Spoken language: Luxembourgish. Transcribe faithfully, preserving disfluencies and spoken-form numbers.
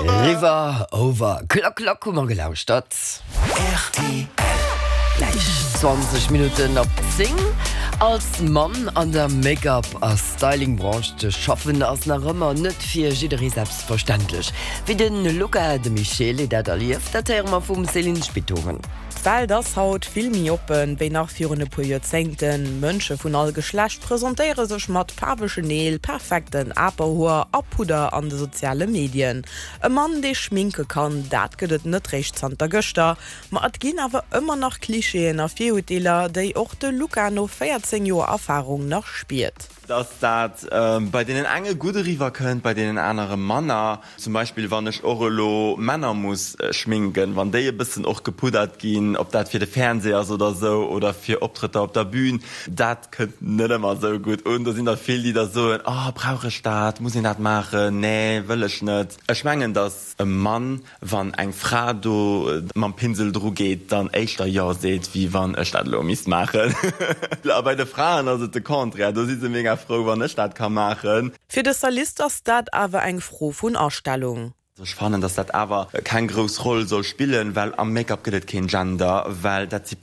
River Over Klock Klock hu mer gelauschtert. R T L. Gläich zwanzeg Minutten op zéng. Als Mann an der Make-up a Styling-Branche ze schaffen ass nach ëmmer net fir jidderee selbstverständlech. Wéi de Luca De Michele dat erlieft, dat héiere mer vum Céline Spithoven. D'Welt ass haut vill méi oppen, wéi nach virun e puer Joerzéngten. Mënsche vun all Geschlecht presentéiere sech mat faarwegen Neel, perfekten Aperhoer a Pudder an de soziale Medien. E Mann, dee schminke kann, dat gëtt et net réischt zanter gëschter. Ma et ginn awer ëmmer nach Klischeeën a Virurteeler, déi och de Luca no véierzéng Joer Erfarung nach spiert. Dass dat bei deenen enge gutt eriwwer kënnt, bei deenen anere manner. Zum Beispill wann ech och elo Männer muss schminken, wann déi e bëssen och gepuddert ginn, ob dat fir de Fernseh ass oder sou oder fir Optrëtter op der Bühn, dat kënnt net ëmmer sou gutt un. Do sinn der vill, déi da soen, oh brauch ech dat, muss een dat maachen, nee wëll ech net. Ech mengen, dass e Mann, wann eng Fra do mam Pinsel dru geet, dann éischter jo seet, wéi wann ech dat elo misst maachen. A bei de Fraen ass et de Contraire, do si se mega frou, wann ech dat ka maachen. Fir de Stylist ass dat awer eng Fro vun Astellung. Ech fannen, dass dat awer keng grouss Roll soll spillen, well am Make-up gëtt et keen Gender, well dat si